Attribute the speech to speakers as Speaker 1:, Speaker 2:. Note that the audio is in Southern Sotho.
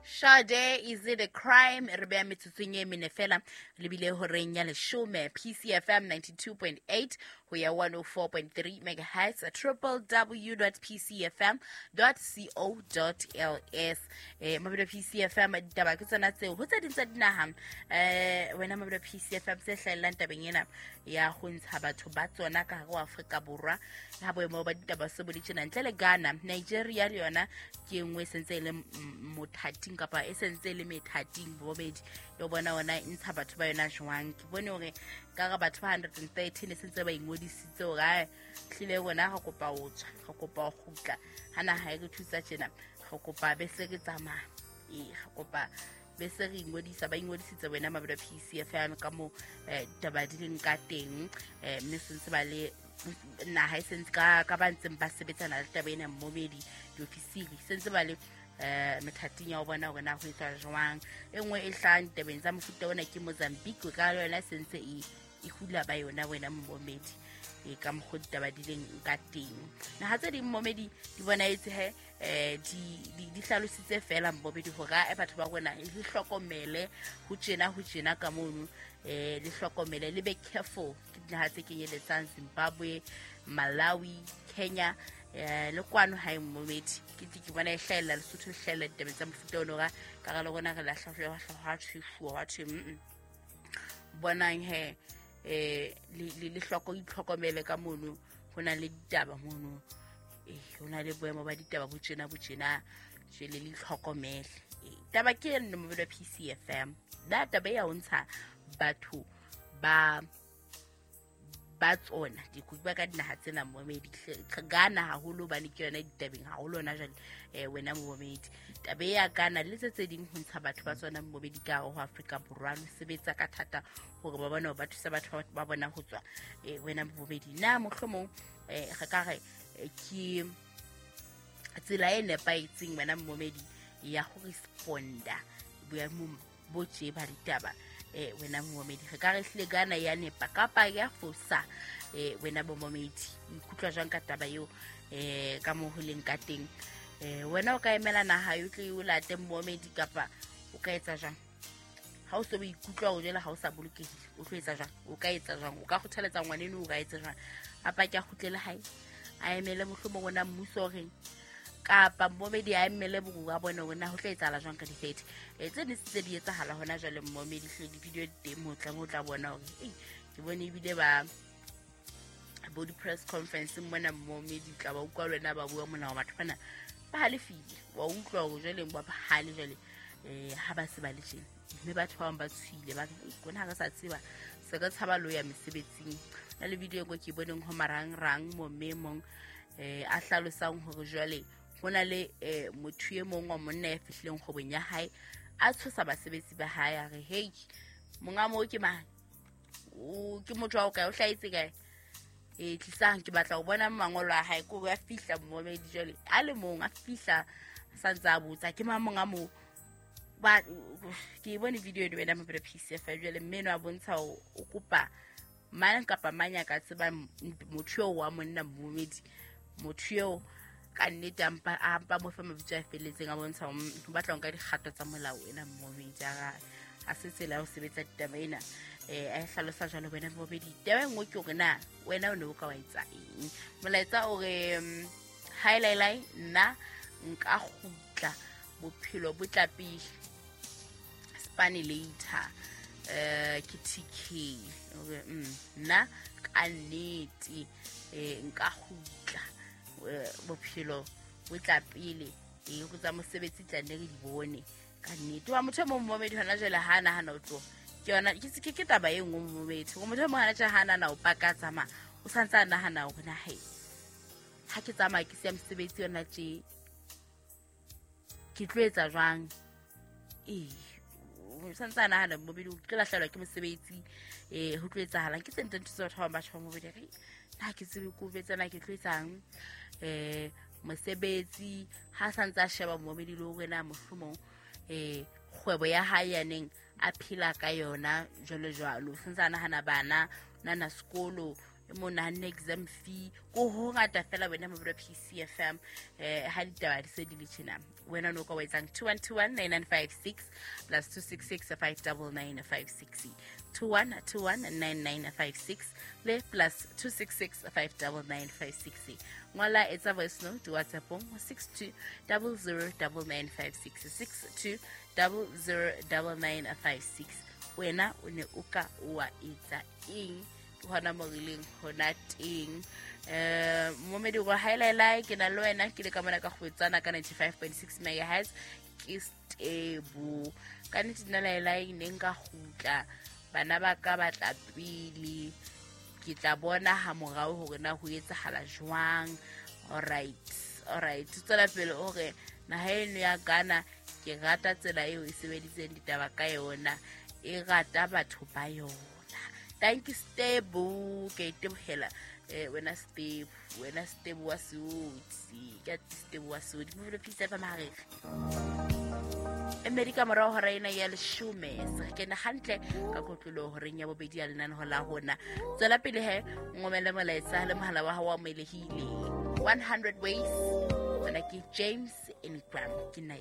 Speaker 1: Sade, is it a crime? Re beya metsotsong e mene fela lebile horeng ya leshome, PCFM 92.8 ho ya 104.3 megahertz, www.pcfm.co.ls. Mabelo PCFM, ditaba ke tsona tseo ho tse ding tsa dinaha. Wena mabelo PCFM, tse hlahellang tabeng ena ya ho ntsha batho ba tsona ka hare ho Afrika Borwa, ha boemo ba ditaba se bo le tjena, ntle le Ghana, Nigeria le yona ke e nngwe e sentse e le mothating, kapa e sentse e le methating bobedi le bona ona e ntsha batho ba yona jwang. Ke bone hore ka re batho ba 113 e sentse ba ingodisitse hore ae hlile rona re kopa ho tswa, re kopa ho kgutla ha naha e re thusa tjena, re kopa be se re tsamaya, ee, re kopa be se re ingodisa. Ba ingodisitse wena mabelo PCFM ka mo taba di leng ka teng, mme sentse ba le naha e sentse ka ba ntseng ba sebetsana le taba ena mmomedi diofisiri sentse ba le methating ya ho bona hore na ho etswa jwang. E nngwe e hlahang ditabeng tsa mofuta ona ke Mozambique, ka yona e sentse e hula ba yona wena mmomedi, e ka mokgwa ditaba di leng ka teng. Naha tse ding mmomedi di bonahetse he di hlalositse fela mmomedi hore a batho ba rona le hlokomele ho tjena, ho tjena ka mono, le hlokomele, le be careful. Ke dinaha tse kenyeletsang Zimbabwe, Malawi, Kenya, le kwano hae mmomedi ke tle ke bona e hlahella Lesotho, e hlahella ditabeng tsa mofuta ono ka ka re le rona re lahla hwa thwefuwa hwa thwe bonang he le hloko itlhokomele ka mono, ho na le ditaba mono, ho na le boemo ba ditaba bo tjena bo tjena, jwale le itlhokomele. Taba ke eno mobelo PCFM na taba ya ho ntsha batho ba tsona dikoki ba ka dinaha tsena momedi, Ghana haholo hobane ke yona ditabeng haholo hona jwale. Wena momedi, taba ya Ghana le tse tse ding ho ntsha batho ba tsona momedi ka hare ho Afrika Borwa, le sebetsa ka thata hore ba bone hore ba thusa batho ba bona ho tswa. Wena momedi, na mohlomong re ka re ke tsela e nepahetseng wena momedi ya ho responda boemong bo tje ba ditaba? Wena momedi, re ka re hlile Ghana ya nepa kapa ya fosa? Wena bomomedi, o ikutlwa jwang ka taba eo, ka moo ho leng ka teng? Wena o ka emela naha yo tle o late momedi, kapa o ka etsa jwang ha o se o ikutlwa o jwale ha o sa bolokehile? O tlo etsa jwang? O ka etsa jwang? O ka kgothaletsa ngwaneno o ka etsa jwang? A pake a kgutlele hae, a emele mohlomong ona mmuso o reng, kapa mmomedi a emele borua bone hore na ho tla etsahala jwang ka di-30 tse ne tse di etsahala hona jwale mmomedi? Hle di-video di teng, mo tla mo tla bona hore ei ke bone ebile ba bo di-press conference mona mmomedi, tla ba utlwa le wena ba bua mona hore batho bana ba halefile, wa utlwa hore jwale ba bahale jwale ha ba se ba le tjena, mme batho ba bang ba tshohile, ba re kona ha re sa tseba se re tshaba lo ya mesebetsing. Na le video e nngwe ke boneng ho marangrang mo mme e mong a hlalosang hore jwale ho na le motho e mong wa monna ya fihlileng kgwebong ya hae, a tshosa basebetsi ba hae, a re hei, monga moo ke mang, o ke motho wa o kae, o hlahetse kae, e tlisang ke batla ho bona mangolo a hae. Ko a fihla momedi jwale a le mong, a fihla sa ntse a botsa ke mang monga moo. Ba ke bone video eno wena mabelo PCF jwale mme eno a bontsha o kopa mang kapa mang ya ka tseba motho eo wa monna momedi, motho eo ka nnete a mpa mo fa mabitso a felletseng, a bontsha o batla ho nka dikgato tsa molao ena momedi, a se tsela ya ho sebetsa ditaba ena, a e hlalosa jwalo wena momedi. Taba e nngwe ke hore na wena o ne o ka wa etsa eng? Molaetsa o re hai lai lai, nna nka kgutla, bophelo bo tla pele, spane later. Ke TK ore nna ka nnete nka kgutla, bophelo bo tla pele, go tsa mosebetsi tla nne re di bone ka nnete. Wa motho e mong momedi hona jwale ha a nahana o tloha, ke yona ke taba e nngwe momedi, gore motho e mong hana tjhe ha nahana o paka tsamaya, o santse a nahana hore na he ha ke tsamaya ke siya mosebetsi yona tje ke tlo etsa jwang? O santse a nahana mobedi o tlo lahlehelwa ke mosebetsi, ho tlo etsahalang? Ke tse ntho tse batho ba bang ba tjho mobedi re na ke tsebe ko betsa na ke tlo etsang mosebetsi, ha santse a sheba momedi le hore na mohlomong kgwebo ya hae ya neng a phela ka yona jwalo jwalo, santse a nahana bana nana sekolo. E mong nahanne exam fee ko ho ngata fela wena mobilo PCFM. Ha ditaba di se di le tjena, wena no ka wa etsang? 2121 9956 plus 266 599 56, 2121 9956 le plus 266 599 56. Ngola, etsa voice note WhatsAppong ho 62 00 9956, 62 00 9956. Wena o ne o ka wa etsa eng? Ke hona mo re leng hona teng. Momedi go haelaelae, ke na le wena, ke le ka mona ka kgwetsana ka 95.6 megahertz. Ke stebo ka nnete nna laelae, ne nka kgutla, bana ba ka batla pele, ke tla bona ha morao hore na ho etsahala jwang. Alright, alright, tswela pele o re naha eno ya Ghana, ke rata tsela eo e sebeditseng ditaba ka yona, e rata batho ba yona. Thank you, Stebo, ke itebohela. Wena Stebo, wena Stebo wa Seotsi, ke Stebo wa Seotsi mo phisa fa mahareng e mmedi ka morao hora ena ya 10. Se re kene hantle ka kotlolo horeng ya bobedi ya lenaneho la rona. Tswela pele he, ngomele molaetsa le mohala wa hao wa amoelehile. 100 Ways, wena ke James Ingram, ke nna.